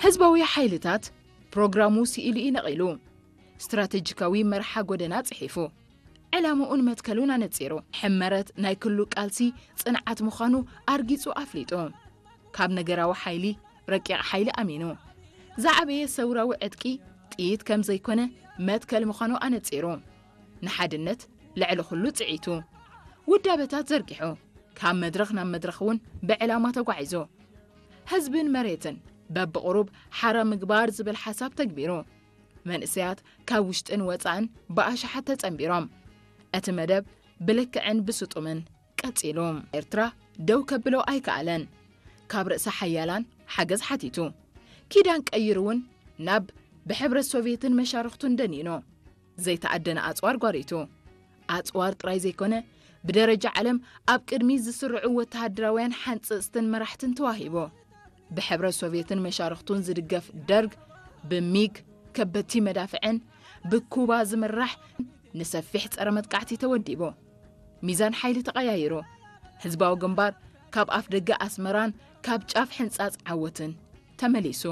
ህዝባዊ ሓይልታት ፕሮግራሙ ስኢሉ እዩ ነቒሉ። ስትራቴጂካዊ መርሓ ጎደና ጽሒፉ። ዕላምኡን መትከሉን ኣነጺሩ። ሕመረት ናይ ክሉ ቃልሲ ጽንዓት ምዃኑ ኣርጊጹ ኣፍሊጡ። ካብ ነገራዊ ሓይሊ ረቂቕ ሓይሊ ኣሚኑ። ዝዓበየ ሰውራዊ ዕጥቂ ጥይት ከም ዘይኮነ መትከል ምዃኑ ኣነጺሩ። ንሓድነት ልዕሊ ኩሉ ጽዒቱ። ውዳበታት ዘርጊሑ። ካብ መድረኽ ናብ መድረኽ እውን ብዕላማ ተጓዒዙ። ህዝብን መሬትን በብቕሩብ ሓራ ምግባር ዝብል ሓሳብ ተግቢሩ። መንእሰያት ካብ ውሽጥን ወጻእን ብኣሽሓት ተጸንቢሮም። እቲ መደብ ብልክዕን ብስጡምን ቀጺሉ። ኤርትራ ደው ከብሎ ኣይከኣለን። ካብ ርእሰ ሓያላን ሓገዝ ሓቲቱ። ኪዳን ቀይሩ እውን ናብ ብሕብረት ሶቪየትን መሻርኽቱን ደኒኑ። ዘይተኣደነ ኣጽዋር ጓሪቱ። ኣጽዋር ጥራይ ዘይኮነ፣ ብደረጃ ዓለም ኣብ ቅድሚት ዝስርዑ ወተሃደራውያን ሓንጸጽትን መራሕትን ተዋሂቡ። ብሕብረት ሶቪየትን መሻርኽቱን ዝድገፍ ደርግ፣ ብሚግ ከበድቲ መዳፍዕን ብኩባ ዝምራሕ ንሰፊሕ ጸረ መጥቃዕቲ ተወዲቡ። ሚዛን ሓይሊ ተቐያይሩ። ህዝባዊ ግንባር ካብ ኣፍ ደገ ኣስመራን ካብ ጫፍ ሕንጻጽ ዓወትን ተመሊሱ።